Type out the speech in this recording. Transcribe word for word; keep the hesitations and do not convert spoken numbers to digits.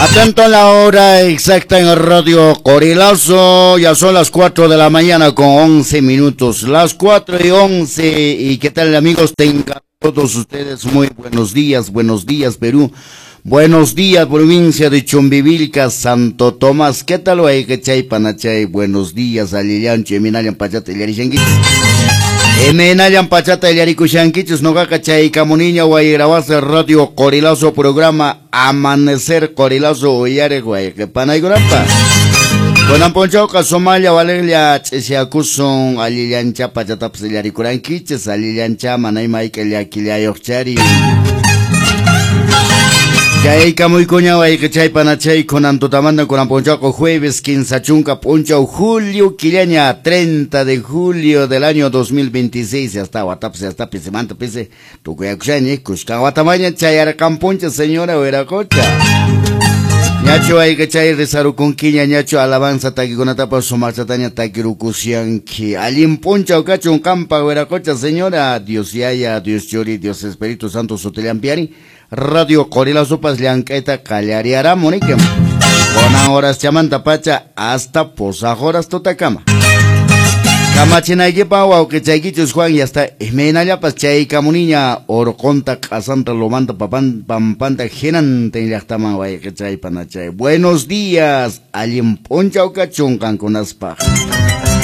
Atento a la hora exacta en Radio Qorilazo, ya son las cuatro de la mañana con once minutos, las cuatro y once, y qué tal amigos, tengan todos ustedes muy buenos días, buenos días Perú, buenos días provincia de Chumbivilcas, Santo Tomás, qué tal chay panachay, buenos días, allillanchu, eminallan pachata illarishankichis, eminallan pachata illarikushankichis, noqaqa chaykamuniña wayrabasa Radio Qorilazo programa Amanecer Qorilazo uyariq wayqipanaykunapaq. Kunan p'unchawqa sumalla waliqlla ch'isyakusun allillancha pachatapas illarikurankichis, allillancha mana ima hayk'a llakillayuqchari. Chaykamuykuña wayqichay panachay kunan tutamanta kunan p'unchawqa jueves quince chunka p'unchaw julio killaña treinta de julio del año dos mil veintiséis, hasta watapas hasta pisimanta pisi tukuyakushaña kushkan watamaña chayarqanpuncha señora wiraqocha. Ñachu wayqichay risarukunkiña ñachu alabanza takikunatapas sumaqchataña takirukushanki. Allin p'unchaw kachun qampa wiraqocha señora, Dios yaya, Dios churi, Dios Espíritu Santo sutillampiari. Radio Qorilazopas llank'ayta qallariaramu nikim. Kunan horas chamanta pacha hasta posaq horas tutakama. Kamachinaykipaq wawqichaykichus Juan ya está imaynallapas chaykamuniña urqunta q'asanta lomanta papan pampanta hinantin llaqtaman wayqichay panachay. Buenos días, allin p'unchaw kachun qankunaspaq.